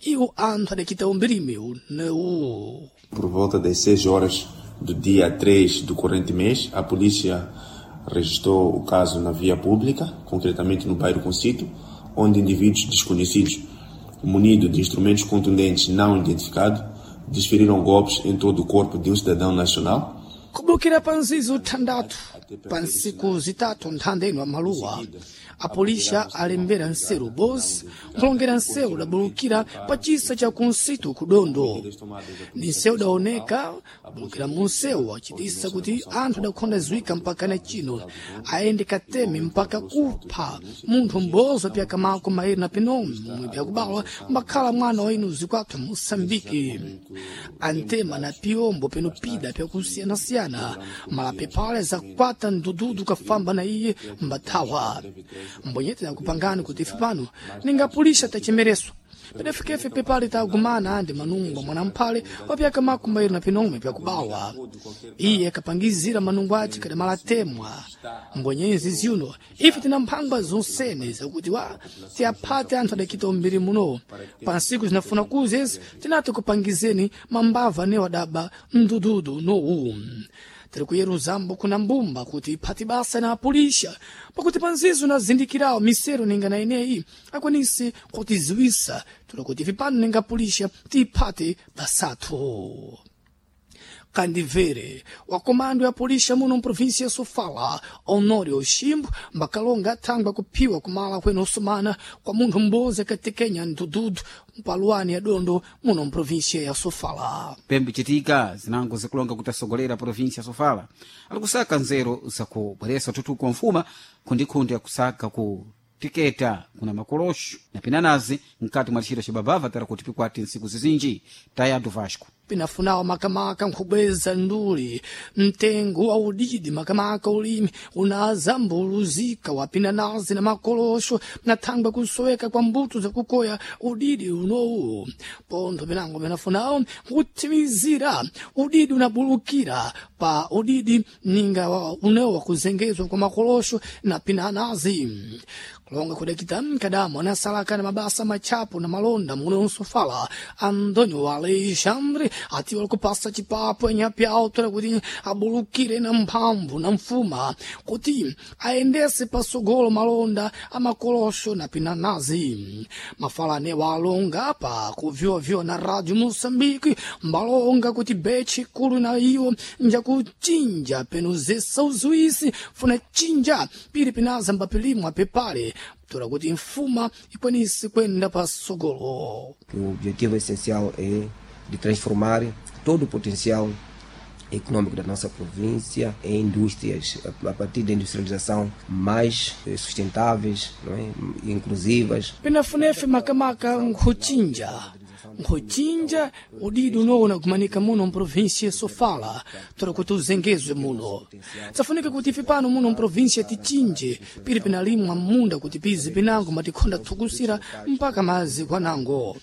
Iwo anthu adacita umbirimi unewu. Por volta das 6 horas do dia 3 do corrente mês, a polícia registrou o caso na via pública, concretamente no bairro Concito, onde indivíduos desconhecidos, munidos de instrumentos contundentes não identificados, desferiram golpes em todo o corpo de um cidadão nacional. Kubukira pa nzizi uthandathu pa ntsiku zitatu nthanda ino amaluwa, apolisa alembera nseru bosi nkulongera nsewu udabulukira pa chisa cha kunsitu kudondo. Ni nsewu udaoneka kubulukira mu nsewu wachitisa kuti anthu adakhonda ziwika mpaka na chino ayende kateme mpaka kupha munthu m'bozo pyaka mako mairi na pinomwe momwe pyakubalwa mbakhala mwana wa inu zikwathu Moçambique. Antema na piombo peno pida pyakusiyanasiyana malapepale zakwata mdududu kafamba na iye mbathawa. Mbonyete nakupangani kuti ife pano ningapulisha tachemereso pedafikefe pepale tagumana andi manungo mwanamphale wapyaka makumbairi na pinomwe pyakubawa. Iye akapangizira manungo ace kadamalatemwa. Mbonyenzi ziuno ife tina mphangwa zonsene zakuti wa tiaphate anthu adakita umbiri muno. Pa nsiku zinafuna kuzezi tinati kupangizeni mambava anewo adaba mdududu nowu. Tiri kuyeruzambo kuna mbumba kuti iphati basa na apulisha pakuti panzizo nazindikirawo misero ninga na ineyi akwanise kutiziwisa tula kuti ife pano ninga pulisha tiiphate basathu. Kandivere wa komando ya polícia muno mprovíncia ya Sofala, Honório Chimbo, mbakalonga athangwa kuphiwa kumala kwene osumana kwa munthu m'bozi akatekenya mdududu mpaluwani ya dondo muno mprovíncia ya Sofala. Pembe chitika zinango zikulonga kuti asogolera província ya Sofala ali kusaka nzeru zakubweresa ututuku wa mfuma khundikhundi akusaka ku tiketa kuna makolosho na pinanazi mkati mwa ntchito cibabava tara kuti pikwati ntsiku zizinji tayadu Vasco. Pinafunawo makamaka nkhubweza nduli mtengo wa udidi makamaka ulimi unazambuluzika wa pinanazi na makolosho na thangwa kusoweka kwa mbuto zakukoya udidi unowu. Pontho pinango pinafunawo nkuthimizira udidi unabulukira pa udidi ninga unewo wakuzengezwa kwa makolosho na pinanazi. Kulonga kudakita mkadamo anasalaka na mabasa machapo na malonda muno Nsofala, Antônio Alexandre atiwa kupasa chipapo enyapyawo kuti abulukire na mphamvu na mfuma kuti ayendese pasogolo malonda amakolosho na pinanazi. Mafalane walonga pa kuvyovyo na Radio Moçambique mbalonga kuti bechi kulu na iwo njakuchinja peno zesa uziwisi funa chinja pili pinaza mbapilimwa pepale tora kuti mfuma ikwanise kwenda pasogolo. O objetivo essencial é de transformar todo o potencial econômico da nossa província em indústrias, a partir da industrialização mais sustentáveis, não é? Inclusivas. Pinafunefe makamaka nkhuchinja nkhuchinja udidi unoona kumanika muno mprovíncia ya Sofala tora kuti uzengezwe muno. Tsafunika kuti ife pano muno mprovíncia tichinje pili pinalimwa munda kuti pizi pinango matikhonda thukusira mpaka mazi kwanango.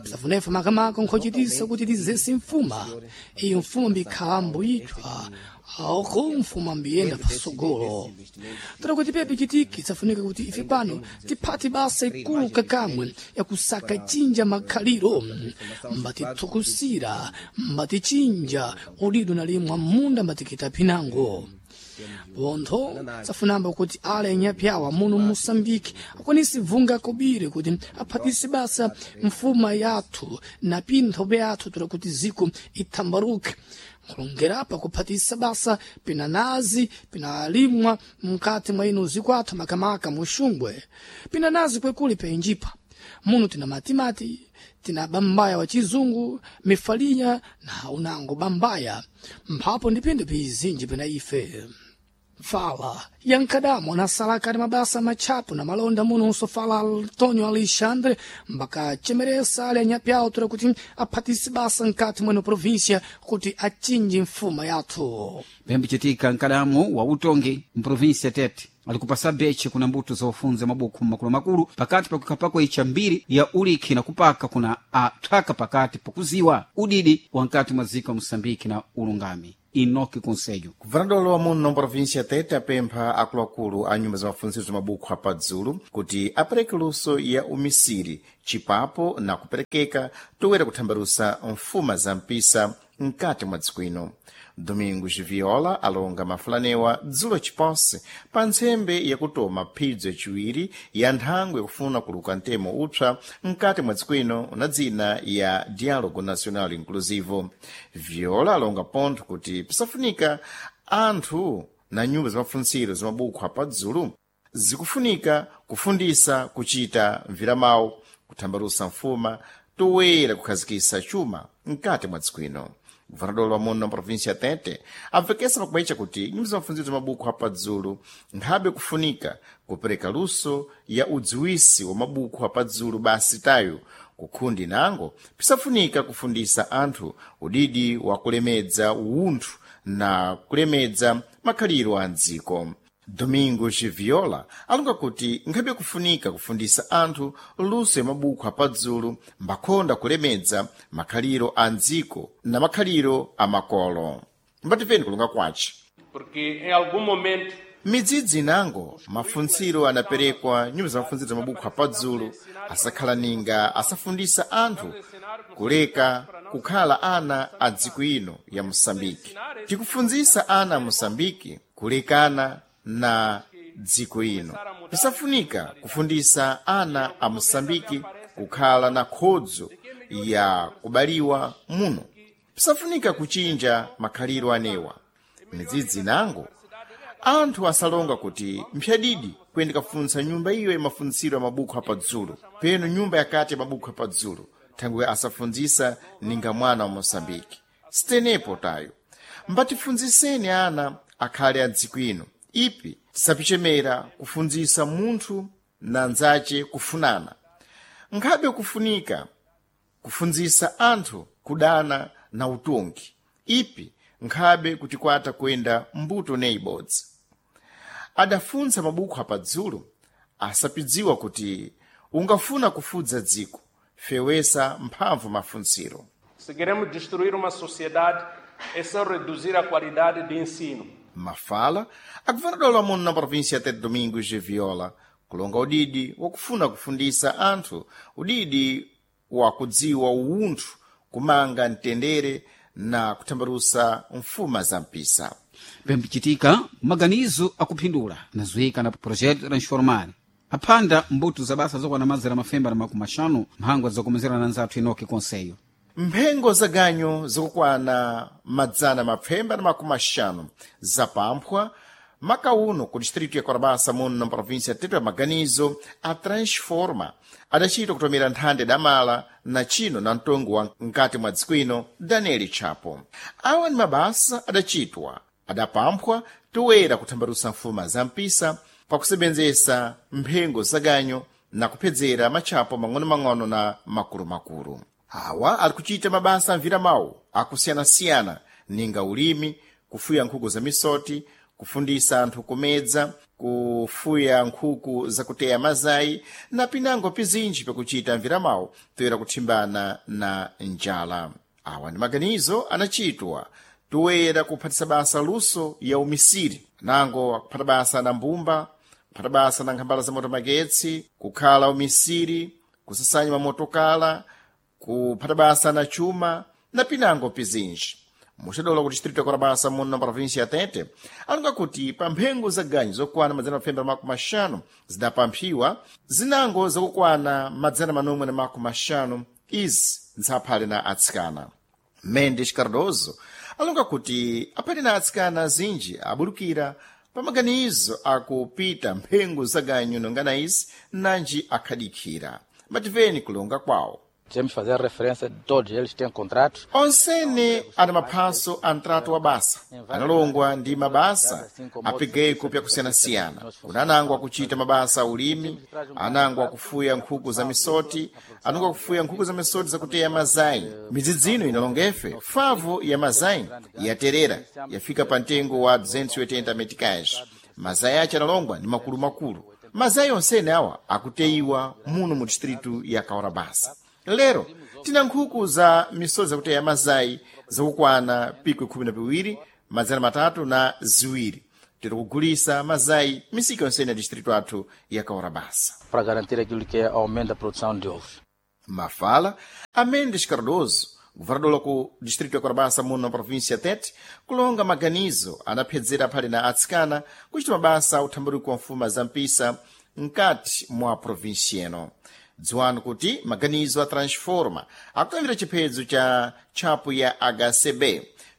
Tsafunefe makamaka nkhochitisa kuti tizese mfuma iyo mfuma mbikhalambo itwa aoko mfuma mbiyenda pasogolo. Tora kuti pepe chitiki tsafunika kuti ife pano tiphate basa ikulu kakamwe yakusaka chinja makhaliro mbatithukusira mbatichinja udido nalimwa munda mbatikita pinango. Pontho tsafunamba kuti ale anyapyawa muno Moçambique akwanise vunga kobiri kuti aphatise basa mfuma yathu na pinthope yathu tora kuti ziko ithambaruke. Nkulongerapa kuphatisa basa pinanazi pinalimwa mkati mwa ino zikwathu makamaka muxungwe. Pinanazi kwekuli penjipa muno tina matimati, tina bambaya wa chizungu, mifalinya na unango bambaya mphapo ndi pinthu pizinji pena ife. Fala yankadamo anasalaka ni mabasa machapo na malonda muno Nsofala Antônio Alexandre mbakachemeresa ali anyapyawo tora kuti aphatise basa nkati mweno província kuti achinje mfuma yathu. Pembe chitika nkadamu wa utongi mprovíncia Tete ali kupasa beche kuna mbuto zofunza mabuku makulumakulu pakati pakukhapako icha mbiri ya ulikhi na kupaka kuna athaka pakati pakuziwa udidi wa nkati mwa ziko ya Moçambique na ulungami. Enoque Conselho. Governador wa muno província Tete apempha akuluakulu a nyumba za mafuntsiro za mabukho apadzulu kuti apereke luso ya umisiri chipapo na kuperekeka toera kuthambalusa mfuma za mpisa mkati mwa dziko ino. Domingos Viola alonga mafulanewa dzulo chiponse pa ntsembe yakutoma phidzo yaciwiri ya nthangwe yakufuna kuluka mtemo upsa mkati mwa dziko ino una dzina ya Diálogo Nacional Inclusivo. Viola alonga pontho kuti pisafunika anthu na nyumba za mafuntsiro za mabukho apadzulu zikufunika kufundisa kuchita mviramawu kuthambalusa mfuma toera kukhazikisa chuma mkati mwa dziko ino. Governador wa muno província Tete amvekesa pakumaitcha kuti nyumba za mafuntsiro za mabukho apadzulu nkhabe kufunika kupereka luso ya udziwisi wa mabukho apadzulu basi tayo kukhundi nango pisafunika kufundisa anthu udidi wa kulemedza uwunthu na kulemedza makhaliro a mdziko. Domingos Viola alonga kuti nkhabe kufunika kufundisa anthu luso ya mabukho apadzulu mbakhonda kulemedza makhaliro a mdziko na makhaliro a makolo. Mbatipeni kulonga kwace. Porque em algum momento Midzidzi inango mafuntsiro anaperekwa nyumba za mafuntsiro za mabukho apadzulu asakhala ninga asafundisa anthu kuleka kukhala ana a dziko ino ya Moçambique. Tikufundzisa ana a Moçambique kulekana na dziko ino. Pisafunika kufundisa ana a Moçambique kukhala na khodzo ya kubaliwa muno. Pisafunika kuchinja makhaliro anewa. Midzidzi nango anthu asalonga kuti mphyadidi kuyenda kafunsa nyumba iyo ya mafuntsiro ya mabukho apadzulu peno nyumba yakati ya mabukho apadzulu thangwe asafundzisa ninga mwana wa Moçambique. Sitenepo tayo mbatifundziseni ana akhale a dziko ino ipi tisapichemera kufundzisa munthu na ndzace kufunana. Nkhabe kufunika kufundzisa anthu kudana na utongi ipi nkhabe kutikwata kuyenda mbuto neibodzi. Adafuntsa mabukho apadzulu asapidziwa kuti ungafuna kufudza dziko fewesa mphamvu mafuntsiro. Se queremos destruir uma sociedade é só reduzir a qualidade de ensino. Mafala a governador wa muno na província Tete Domingos de Viola kulonga udidi wakufuna kufundisa anthu udidi wakudziwa uwunthu kumanga mtendere na kuthambalusa mfuma za mpisa. Pembichitika maganizo akuphindula nazuika na projeto Transformar aphanda mbuto za basa zokwana mazera mafemba na makumi axanu mphangwa zakomezera na nzathu Enoque Conselho. Mphengo za ganyo zikukwana madzana mapfemba na makumi axanu zapamphwa makauno ku distrito ya Korabasa muno na província Tete ya maganizo a Transforma adachita kutomera nthanda damala na chino na mtongo wa mkati mwa dziko ino Daniel Chapo. Awa ni mabasa adachitwa adapamphwa toera kuthambalusa mfuma za mpisa pakusebenzesa mphengo za ganyo na kuphedzera matchapo mang'ono-mang'ono na makulu-makulu. Awa ali kuchita mabasa amvira mawu akusiyana-siyana ninga ulimi, kufuya nkhuku za misoti, kufundisa anthu kumedza, kufuya nkhuku zakuteya mazayi na pinango pizinji pakuchita mviramawu toera kuthimbana na njala. Awa ndi maganizo anachitwa toera kuphatisa basa luso ya umisiri nango akuphata basa na mbumba, kuphata basa na nkhambala za moto magetsi, kukhala umisiri, kusasanya mamotokala, kuphata basa na chuma na pinango pizinji. Muxadola ku distrito ya Korabasa muno na província ya Tete alonga kuti pa mphengo za ganyu zokwana madzana mapfemba na makumi axanu zidapamphiwa zinango zakukwana madzana manomwe na makumi axanu izi nsaphale na atsikana. Mendes Cardoso alonga kuti aphale na atsikana azinji abulukira pa maganizo akupita mphengo za ganyu nongana izi nanji akhadikhira. Mativeni kulonga kwawo. Temos fazer a referência de todos eles têm contratos. Onsene ana maphaso a ntrato wa basa analongwa ndi mabasa apigeko pyakusiyanasiyana. Kuna anango akuchita mabasa a ulimi, anango akufuya nkhuku za misoti, anango akufuya nkhuku za misoti zakuteya mazayi. Midzidzi ino inalongefe favu ya mazayi yaterera yafika pa mtengo wa 280 meticais. Mazayi ace analongwa ndi makulumakulu. Mazayi onsene awa akuteyiwa muno mu distritu ya Kaurabasa. Lero tina nkhuku za misozi zakuteya mazayi zakukwana pikwi 12 302 tiri kugulisa mazayi misika yonsene ya distrito athu ya Kaurabasa Para garantir aquilo que é aumento da produção de ovos. Mafala a Mendes Cardoso, governador wa ku distrito ya Korabasa muno na província Tete, kulonga maganizo anaphedzera phali na atsikana kuchita mabasa uthambaruko wa mfuma za mpisa mkati mwa província ino. Dziwani kuti maganizo a Transforma akutambira chiphedzo cha tchapu ya HCB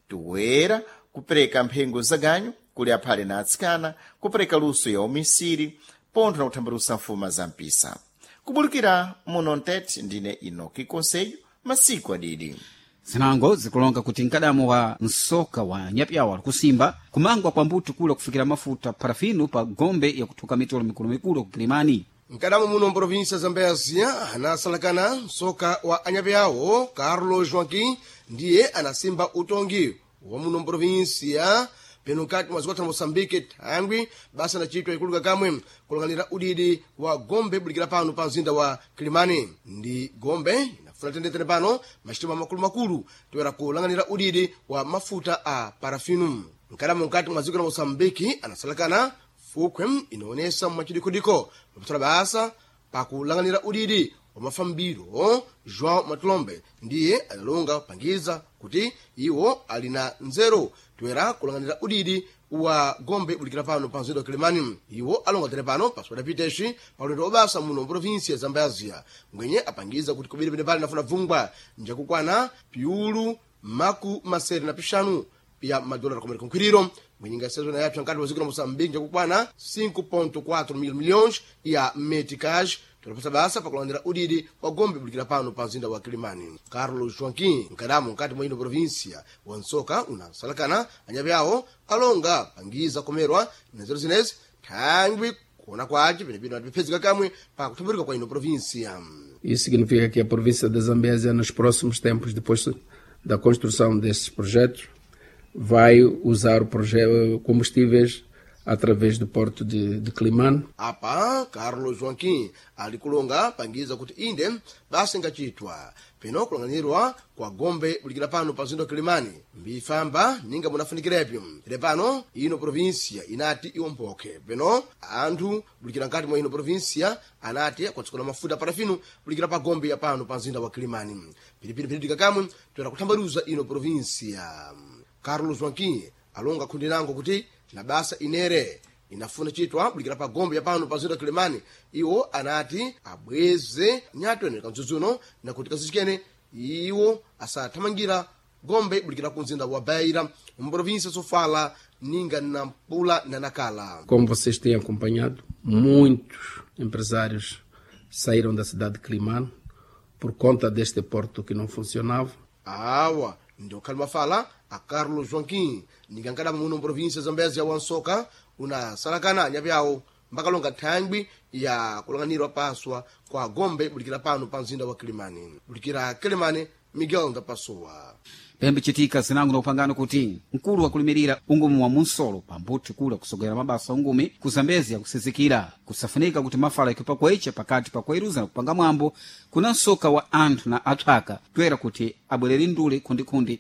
toera kupereka mphengo za ganyu kuli aphale na atsikana, kupereka luso ya umisiri pontho na kuthambalusa mfuma za mpisa. Kubulukira muno Mtete, ndine Inoki Conselho, masiku adidi. Zinango zikulonga kuti mkadamo wa msoka wa nyapyawo ali kusimba kumangwa kwa mbuto kula kufikira mafuta parafino pa gombe yakuthuka mitolo mikulumikulu ku Kilimani. Mkadamo muno mprovinsia Zambezia anasalakana msoka wa anyapeawo Carlos Joaquim ndiye anasimba utongi wa muno mprovinsia peno nkati mwa zikwatha na Moçambique thangwi basa anachitwa ikuluka kamwe kulang'anira udidi wa gombe bulikira pano pa mzinda wa Kilimani. Ndi gombe inafuna tendetene pano machitima makulumakulu toera kulang'anira udidi wa mafuta a parafinu. Mkadamo nkati mwa dziko la Moçambique anasalakana fukhwe inaonesa mwachidikodiko mapatala basa pakulang'anira udidi wa mafambiro. João Matulombe ndiye analonga kupangiza kuti iwo ali na nzeru toera kulang'anira udidi wa gombe bulikira pano pa mzinda wa Kilimani. Iwo alonga tere pano paswadapiteshi pa ulendo wabasa muno mprovinsia ya Zambezia ngwenye apangiza kuti kubiri pene pali nafuna bvungwa njakukwana piulu maku masere na pixanu ya madola komera konkhwiriro mwenyinga sezo na yapsa nkati wa dziko la Moçambique njakukwana 5.4 mil milhões ya meticais tolapasa basa pakulandira udidi wa gombe bulikira pano pa mzinda wa Kilimani. Carlos Joaquim mkadamo nkati mwa ino província wansoka unasalakana anyape awo alonga pangiza komerwa na nzeru zinezi thangwi kuona kwace penepene atiphedzeka kamwe pa kuthamburika kwa ino província. Isso significa que a província da Zambésia, nos próximos tempos, depois da construção desses projetos, vai usar o combustíveis através do porto de Quelimane. Apa Carlos Joaquim ali kulonga pangiza kuti inde basa ingachitwa peno kulang'anirwa kwa gombe bulikira pano pa mzinda wa Kilimani mbifamba ninga munafunikirepyo. Tere pano ino província inati iwompokhe peno anthu bulikira nkati mwa ino província anati akwatsikula mafuta parafino bulikira pa gombe ya pano pa mzinda wa Kilimani. Pilipili phiritika kamwe toera kuthambaluza ino província. Carlos Joaquim alonga khundi nango kuti na basa inere inafuna chitwa bulikira pa gombe ya pano pa mzinda wa Kilimani. Iwo anati abweze nyato ene kamdzudzuno na kuti kazichikene iwo asathamangira gombe bulikira ku mzinda wa Beira mprovíncia Sofala ninga Nampula na Nacala. Como vocês têm acompanhado, muitos empresários saíram da cidade de Quelimane por conta deste porto que não funcionava. Awa ndio khalima fala a Carlos Joaquim ningankadama muno mprovíncia Zambezia wansoka unasalakana anyape awo mbakalonga thangwi ya kulang'anirwa paswa kwa gombe bulikira pano pa mzinda wa Kilimani. Bulikira Kilimani, Miguel Ndapasuwa. Pembe chitika zinango na upangano kuti mkulu wakulimirira ungumi wa munsolo pambuti kula kusogera mabasa ungumi ku Zambezia kusizikira kusafunika kuti mafala ikipakwecha pakati pa kueruza na kupanga mwambo kuna msoka wa anthu na athaka toera kuti abwerere ndule khundikhundi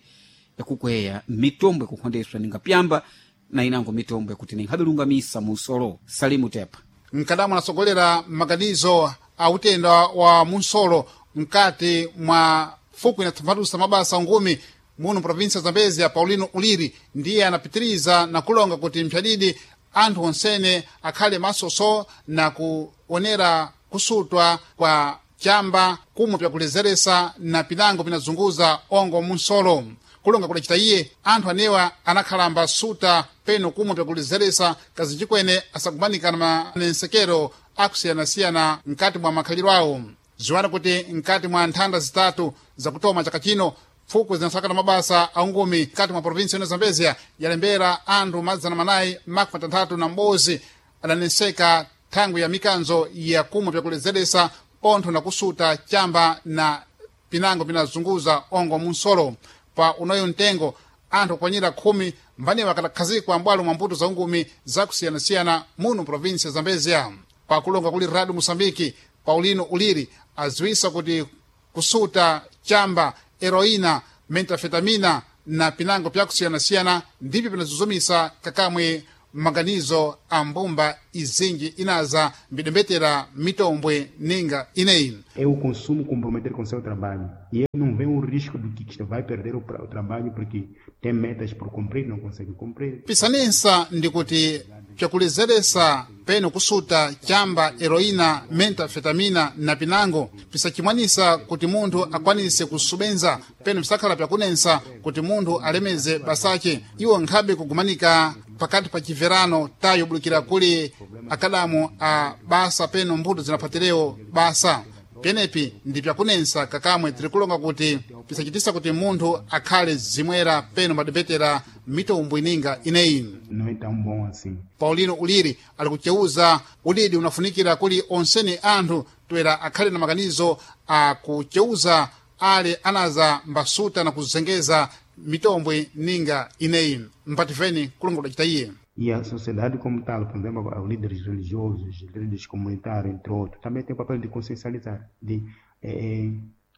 yakukweya mitombo yakukhondeswa ninga pyamba na inango mitombo yakuti ninkhabilungamisa munsolo. Salimu Tepa mkadamu anasogolera maganizo a utenda wa munsolo mkati mwa fuku inathambalusa mabasa ungumi muno província Zambezia. Paulino Uliri ndiye anapitiriza na kulonga kuti mpyadidi anthu onsene akhale masoso na kuonera kusutwa kwa chamba kumwe pyakulezeresa na pinango pinazunguza ongo munsolo. Kulonga kudacita iye anthu anewa anakhalamba suta peno kumwe pyakulezeresa kazichikwene asakumanikana manensekero akusiyanasiyana mkati mwa makhaliro awo. Ziwana kuti mkati mwa nthanda zitatu zakutoma chaka chino pfuku zinasakana mabasa aungumi mkati mwa provinsi ino Zambezia yalembera anthu 461 adaneseka thangwi ya mikanzo ya kumwe pyakulezeresa pontho na kusuta chamba na pinango pinazunguza ongo munsolo. Pa unoyo mtengo anthu okwanira 10 mbanewa akadakhazikwa mbwalo mwa mbuto za ungumi zakusiyanasiyana muno provinsi ya Zambezia. Pakulonga kuli Radio Moçambique, Paulino Uliri aziwisa kuti kusuta chamba, heroína, metafetamina na pinango pyakusiyanasiyana ndipyo pinazuzumisa kakamwe maganizo a mbumba izinji inaza mbidembetera mitombwe ninga ineyi. É o consumo comprometer com o seu trabalho. E ele não vê o risco de que vai perder o trabalho porque tem metas por cumprir, não consegue cumprir. Pisanensa ndikuti pyakulezeresa peno kusuta chamba heroína metafetamina na pinango pisachimwanisa kuti munthu akwanise kusubenza peno pisakhala pyakunensa kuti munthu alemeze basache iwo nkhabe kugumanika pakati pa chiverano tayo bulukira kuli akadamu a basa peno mbuto zinapatirewo basa penepi ndi pyakunensa kakamwe tiri kulonga kuti pisachitisa kuti munthu akhale zimwera peno madepetera mitombo ininga ineyi. Não é tão bom assim. Paulino Uliri ali kuceuza udidi unafunikira kuli onsene anthu toera akhale na maganizo akuceuza ale anaza mbasuta na kuzengeza mitombwe ninga ineyi mpatifeni kulongola cita iye. E a sociedade como tal, por exemplo, os líderes religiosos, líderes comunitários, entre outros, também tem o papel de consciencializar, de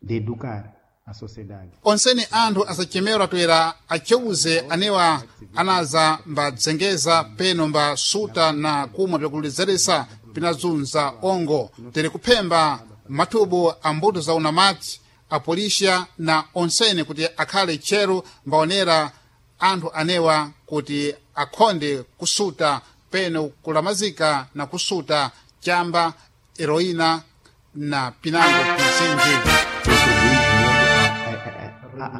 educar a sociedade. Onsene anthu asachemerwa toera aceuze anewa anaza mbadzengeza peno mbasuta na kumwa pyakulezeresa pinazunza ongo tere kuphemba mathubu a mbuto za unamati apolisia na onsene kuti akhale tcheru mbaonera anthu anewa kuti akhonde kusuta peno kulamazika na kusuta chamba heroína na pinango pizinji.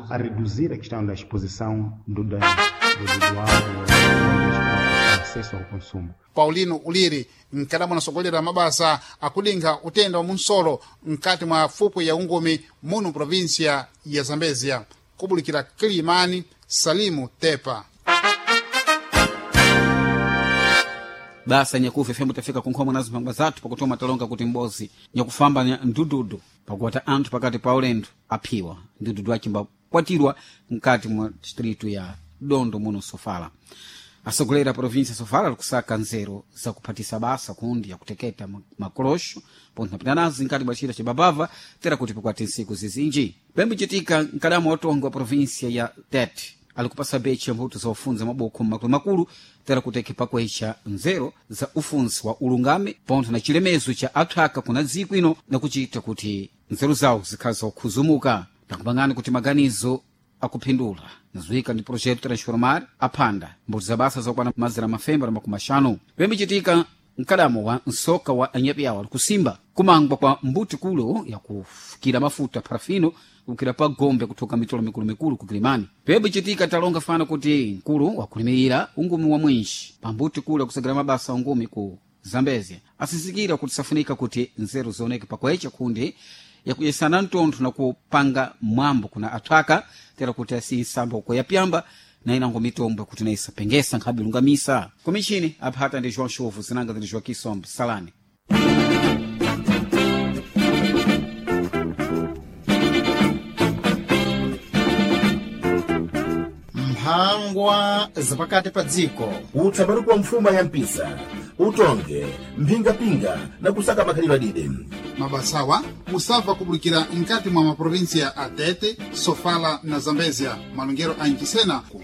A reduzir a questão da exposição do dano, do álcool, acesso ao consumo. Paulino Uliri mkadamwa anasogolera mabasa akulinga utenda wa munsolo mkati mwa fupwe ya ungumi muno provinsia ya Zambezia kubulikira Kilimani. Salimu Tepa. Basa nyakufa ifembo tafika kunkhomwe nazo mphangwa zathu pakutoma talonga kuti mbozi nyakufamba ndududu pakuwata anthu pakati pa ulendo aphiwa ndududu achimbakwatirwa mkati mwa distritu ya Dondo muno Sofala. Asogolera provinsia Sofala alikusaka nzeru zakuphatisa basa kundi yakuteketa makolosho pontho napitanazi nkati mwa chita cibabava tera kuti pakwati ntsiku zizinji pembucitika mkadamu watongo wa provinsia ya Tete alikupasa bechi mbuto za ufunzi maboko makulumakulu tera kuteke pakwecha nzeru za ufunzi wa ulungame pontho na chilemezo cha athaka kuna dziko ino nakuchita kuti nzeru zawo zikhale zokhuzumuka nakupangani kuti maganizo akuphindula nazuika ndi projeto Transformar aphanda mbuto za basa zokwana mazira mafemba na makumi axanu pembichitika mkadamo wa nsoka wa anyapiawo alikusimba kumangwa kwa mbuti kulo yakufukira mafuta parafino kukira pa gombe kuthoka mitolo mikulumikulu ku Kilimani. Pembichitika talonga fana kuti mkulu wakulimirira ungumi wa mwinji pambuti kulo yakusagala mabasa ungumi ku Zambezia asizikira kuti safunika kuti nzeru zioneke pakwecha kundi yakuyesana mtontho na kupanga mwambo kuna athwaka tera kuti asiyisamba uko yapyamba na inango mitombo kuti naisapengesa nkhabe lungamisa komishini aphata ndi João Chovu zinanga ndi Joaquim Sombe Salani. Mphangwa zapakati pa dziko utsabaruka wa mfuma ya mpisa utonge mphingapinga na kusaka makhalidwe adide Mabasawa musabva kubulikira mkati mwa maprovinsia a Tete, Sofala na Zambezia malongero a Nchisena ku